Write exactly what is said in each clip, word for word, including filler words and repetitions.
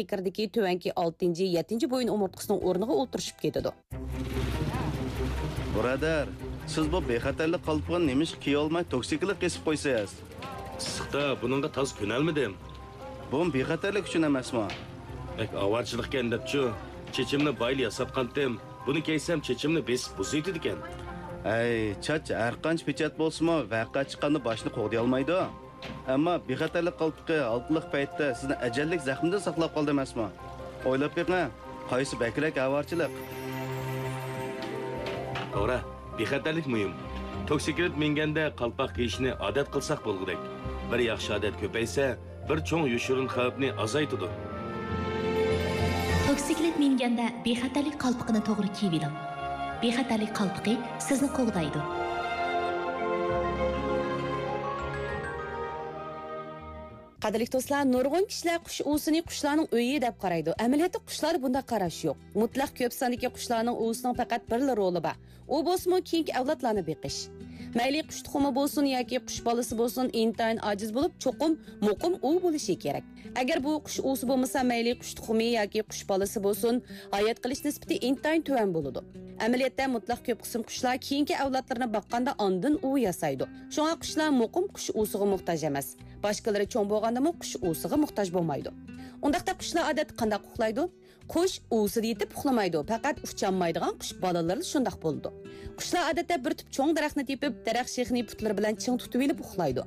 ئېكىردىكى تۆۋەنكى ئالتىنچى، يەتتىنچى بويۇن ئومۇرتقىسىنىڭ ئورنىغا ئولتۇرۇشۇپ كېتىدۇ. بۇرادەر، سىز بۇ بىخەتەرلىك قالپىقىنى نېمىشقا كىيەلمەي توكسىكلىت قېسىپ قويىسىز؟ ئىسسىقتا بۇنىڭغا تازا كۆنەلمىدىم. بۇمۇ بىخەتەرلىك ئۈچۈن ئەمەسمۇ؟ بەك ئاۋارىچىلىقكەن دەپچۇ. چېچىمنى بايىلا ياساتقانتىم. بۇنى كىيسەم چېچىمنى بېسىپ بۇزۇۋېتىدىكەن. ھەي، چاچ ھەرقانچە پېچەت بولسىمۇ، ۋەقە چىققاندا باشنى قوغدىيالمايدۇ. ئەمما بىخەتەرلىك قالپىقى ھالقىلىق پەيتتە سىزنى ئەجەللىك زەخمىدىن ساقلاپ قالدى ئەمەسمۇ؟ ئويلاپ بېقىڭ، قايسى بەكرەك ئاۋارىچىلىق؟ توغرا، بىخەتەرلىك مۇھىم. توكسىكلىت مىنگەندە قالپاق كىيىشنى ئادەت قىلساق بولغۇدەك. بىر ياخشى ئادەت كۆپەيسە، بىر چوڭ يوشۇرۇن خەۋپنى ئازايتىدۇ. توكسىكلىت مىنگەندە بىخەتەرلىك قالپىقىنى توغرا كىيىۋېلىڭ. بىخەتەرلىك قالپىقى سىزنى قوغدايدۇ. قەدىرلىك دوستلار، نۇرغۇن كىشىلەر قۇش ئۇۋىسىنى قۇشلارنىڭ ئۆيى دەپ قارايدۇ. ئەمەلىيەتتە قۇشلاردا بۇنداق قاراش يوق. مۇتلەق كۆپ ساندىكى قۇشلارنىڭ ئۇۋىسىنىڭ پەقەت بىرلا رولى بار. ئۇ بولسىمۇ كېيىنكى ئەۋلادلارنى بېقىش. مەيلى قۇش تۇخۇمى بولسۇن ياكى قۇش بالىسى بولسۇن، ئىنتايىن ئاجىز بولۇپ، چوقۇم مۇقىم ئۇۋا بولۇشى كېرەك. ئەگەر بۇ قۇش ئۇۋىسى بولمىسا، مەيلى قۇش تۇخۇمى ياكى قۇش بالىسى بولسۇن، ھايات قېلىش نىسبىتى ئىنتايىن تۆۋەن بولىدۇ. ئەمەلىيەتتە، مۇتلەق كۆپ قىسىم قۇشلار كېيىنكى ئەۋلادلىرىنى باققاندا ئاندىن ئۇۋا ياسايدۇ. شۇڭا قۇشلار مۇقىم قۇش ئۇۋىسىغا موھتاج ئەمەس. باشقىلىرى چوڭ بولغاندىمۇ قۇش ئۇۋىسىغا موھتاج بولمايدۇ. ئۇنداقتا قۇشلار ئادەتتە قانداق ئۇخلايدۇ؟ قۇش ئۇۋىسىدا يېتىپ ئۇخلىمايدۇ، پەقەت ئۇچالمايدىغان قۇش بالىلىرىلا شۇنداق بولىدۇ. قۇشلار ئادەتتە بىر تۈپ چوڭ دەرەخنى تېپىپ، دەرەخ شېخىنى پۇتلىرى بىلەن چىڭ تۇتۇۋېلىپ ئۇخلايدۇ.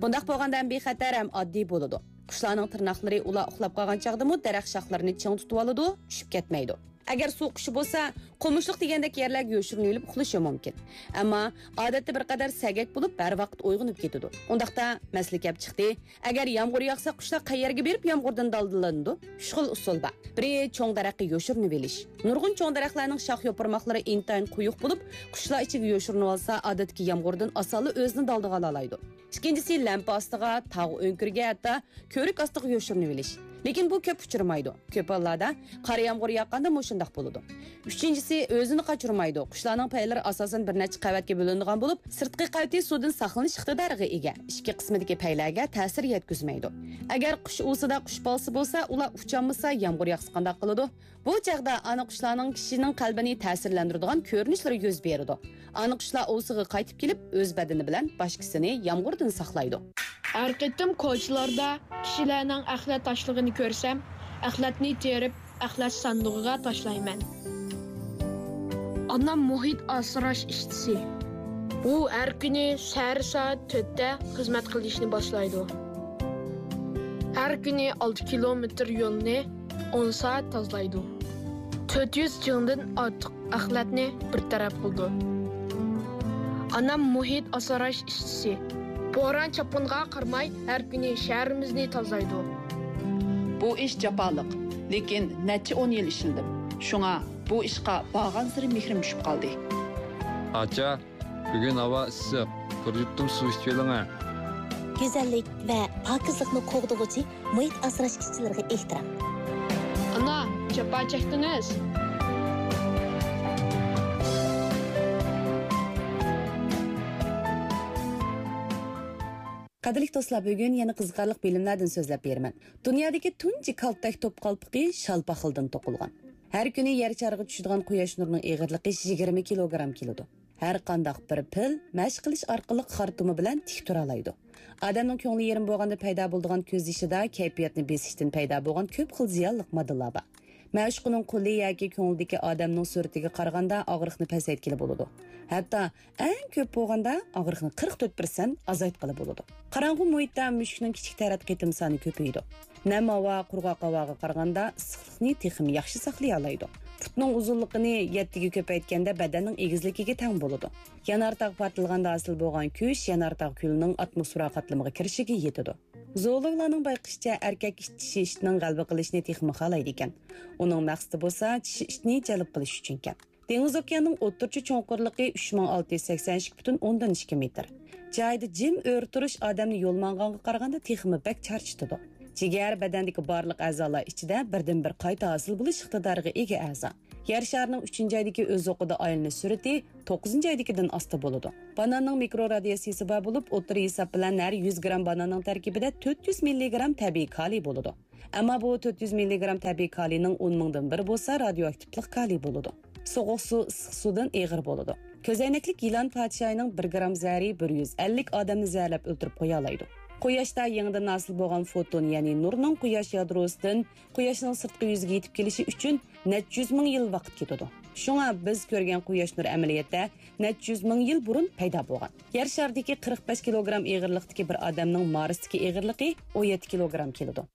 بۇنداق بولغاندا ھەم بىخەتەر، ھەم ئاددىي بولىدۇ. قۇشلارنىڭ تىرناقلىرى ئۇلار ئۇخلاپ قالغان چاغدىمۇ دەرەخ شاخلىرىنى چىڭ تۇتۇۋالىدۇ، چۈشۈپ كەتمەيدۇ. ئەگەر سۇ قۇشى بولسا، قومۇشلۇق دېگەندەك يەرلەرگە يوشۇرۇنۇۋېلىپ ئۇخلىشى مۇمكىن. ئەمما ئادەتتە بىر قەدەر سەگەك بولۇپ، ھەر ۋاقىت ئويغىنىپ كېتىدۇ. ئۇنداقتا مەسىلە كەپ چىقتى. ئەگەر يامغۇر ياغسا، قۇشلار قەيەرگە بېرىپ يامغۇردىن دالدىلىنىدۇ؟ ئۈچ خىل ئۇسۇل بار. بىرى، چوڭ دەرەخكە يوشۇرۇنۇۋېلىش. نۇرغۇن چوڭ دەرەخلەرنىڭ شاخ يوپۇرماقلىرى ئىنتايىن قويۇق بولۇپ، قۇشلار ئىچىگە يوشۇرۇنۇۋالسا، ئادەتتىكى يامغۇردىن ئاسانلا ئۆزىنى دالدىغا ئالالايدۇ. ئىككىنچىسى، لەمپە ئاستىغا، تاغ ئۆڭكۈرىگە، ھەتتا كۆۋرۈك ئاستىغا يوشۇرۇنۇۋېلىش. لېكىن بۇ كۆپ ئۇچرىمايدۇ. كۆپ ھاللاردا قارا يامغۇر ياغقاندا مۇشۇنداق بولىدۇ. ئۈچىنچىسى، ئۆزىنى قاچۇرمايدۇ. قۇشلارنىڭ پەيلىرى ئاساسەن بىر نەچچە قەۋەتكە بۆلۈنىدىغان بولۇپ، سىرتقى قەۋىتى سۇدىن ساقلىنىش ئىقتىدارىغا ئىگە. ئىچكى قىسمىدىكى پەيلەرگە تەسىر يەتكۈزمەيدۇ. ئەگەر قۇش ئۇۋىسىدا قۇش بالىسى بولسا، ئۇلار ئۇچالمىسا، يامغۇر ياغسا قانداق قىلىدۇ؟ بۇ چاغدا ئانا قۇشلارنىڭ كىشىنىڭ قەلبىنى تەسىرلەندۈرىدىغان كۆرۈنۈشلىرى يۈز بېرىدۇ. ئانا قۇشلار ئۇۋىسىغا قايتىپ كېلىپ، ئۆز بەدىنى بىلەن باشقىسىنى يامغۇردىن ساقلايدۇ. ھەر قېتىم كوچىلاردا كىشىلەرنىڭ ئەخلەت تاشلىغىنى كۆرسەم، ئەخلەتنى تېرىپ، ئەخلەت ساندۇقىغا تاشلايمەن. ئانام مۇھىت ئاسراش ئىشچىسى. ئۇ ھەر كۈنى سەھەر سائەت تۆتتە خىزمەت قىلىشنى باشلايدۇ. ھەر كۈنى ئالتە كىلومېتىر يولنى ئون سائەت تازىلايدۇ. تۆت يۈز جىڭدىن ئارتۇق ئەخلەتنى بىر تەرەپ قىلىدۇ. ئانام مۇھىت ئاسراش ئىشچىسى. بوران-چاپقۇنغا قارىماي، ھەر كۈنى شەھىرىمىزنى تازىلايدۇ. بۇ ئىش جاپالىق، لېكىن نەچچە ئون يىل ئىشلىدىم. شۇڭا بۇ ئىشقا بارغانسېرى مېھرىم چۈشۈپ قالدى. ئاچا، بۈگۈن ھاۋا ئىسسىق، بىر يۇتۇم سۇ ئىچىۋېلىڭە. گۈزەللىك ۋە پاكىزلىقنى قوغدىغۇچى مۇھىت ئاسراش ئىشچىلىرىغا ئېھتىرام. ئانا، جاپا چەكتىڭىز. قەدىرلىك دوستلار، بۈگۈن يەنە قىزىقارلىق بىلىملەردىن سۆزلەپ بېرىمەن. دۇنيادىكى تۇنجى كالتەك توپ قالپىقى شال پاخىلدىن توقۇلغان. ھەر كۈنى يەر شارىغا چۈشىدىغان قۇياش نۇرىنىڭ ئېغىرلىقى يىگىرمە كىلوگرام كېلىدۇ. ھەر قانداق بىر پىل مەشىق قىلىش ئارقىلىق خارتۇمى بىلەن تىك تۇرالايدۇ. ئادەمنىڭ كۆڭلى يېرىم بولغاندا پەيدا بولىدىغان كۆز يېشىدا كەيپىياتنى بېسىشتىن پەيدا بولغان كۆپ خىل زىيانلىق ماددىلار بار. مەشۇقىنىڭ قولى ياكى كۆڭلىدىكى ئادەمنىڭ سۈرىتىگە قارىغاندا ئاغرىقنى پەسەيتكىلى بولىدۇ. ھەتتا ئەڭ كۆپ بولغاندا ئاغرىقنى قىرىق تۆت پىرسەنت ئازايتقىلى بولىدۇ. قاراڭغۇ مۇھىتتا مۈشۈكنىڭ كىچىك تەرەت قېتىم سانى كۆپىيىدۇ. نەم ھاۋا قۇرغاق ھاۋاغا قارىغاندا ئىسسىقلىقنى تېخىمۇ ياخشى ساقلىيالايدۇ. پۇتنىڭ ئۇزۇنلۇقىنى يەتتىگە كۆپەيتكەندە بەدەننىڭ ئېگىزلىكىگە تەڭ بولىدۇ. يانارتاغ پارتلىغاندا ھاسىل بولغان كۈچ يانارتاغ كۈلىنىڭ ئاتموسفېرا قاتلىمىغا كىرىشىگە يېتىدۇ. زوولوگلارنىڭ بايقىشىچە، ئەركەك ئىت چىشى ئىتنىڭ غەلىبە قىلىشىنى تېخىمۇ خالايدىكەن. ئۇنىڭ مەقسىتى بولسا چىشى ئىتنى جەلپ قىلىش ئۈچۈنكەن. دېڭىز ئوكياننىڭ ئوتتۇرىچە چوڭقۇرلۇقى ئۈچ مىڭ ئالتە يۈز سەكسەن ئىككى پۈتۈن ئوندىن ئىككى مېتىر. جايىدا جىم ئۆرە تۇرۇش ئادەمنى يول ماڭغانغا قارىغاندا تېخىمۇ بەك چارچىتىدۇ. جىگەر بەدەندىكى بارلىق ئەزالار ئىچىدە بىردىنبىر قايتا ھاسىل بولۇش ئىقتىدارىغا ئىگە ئەزا. يەر شارىنىڭ ئۈچىنچى ئايدىكى ئۆز ئوقىدا ئايلىنىش سۈرئىتى توققۇزىنچى ئايدىكىدىن ئاستا بولىدۇ. باناننىڭ مىكرو رادىياتسىيىسى بار بولۇپ، ئوتتۇرا ھېساب بىلەن ھەر يۈز گرام باناننىڭ تەركىبىدە تۆت يۈز مىللىگرام تەبىئىي كالىي بولىدۇ. ئەمما بۇ تۆت يۈز مىللىگرام تەبىئىي كالىينىڭ ئون مىڭدىن بىرى بولسا رادىيوئاكتىپلىق كالىي بولىدۇ. سوغۇق سۇ ئىسسىق سۇدىن ئېغىر بولىدۇ. كۆزەينەكلىك يىلان پادىشاھىنىڭ بىر گرام زەھىرى بىر يۈز ئەللىك ئادەمنى زەھەرلەپ ئۆلتۈرۈپ قويالايدۇ. قۇياشتا يېڭىدىن ھاسىل بولغان فوتون، يەنى نۇرنىڭ قۇياش يادروسىدىن قۇياشنىڭ سىرتقى يۈزىگە يېتىپ كېلىشى ئۈچۈن نەچچە يۈز مىڭ يىل ۋاقىت كېتىدۇ. شۇڭا بىز كۆرگەن قۇياش نۇرى ئەمەلىيەتتە نەچچە يۈز مىڭ يىل بۇرۇن پەيدا بولغان. يەر شارىدىكى قىرىق بەش كىلوگرام ئېغىرلىقتىكى بىر ئادەمنىڭ مارستىكى ئېغىرلىقى ئون يەتتە كىلوگرام كېلىدۇ.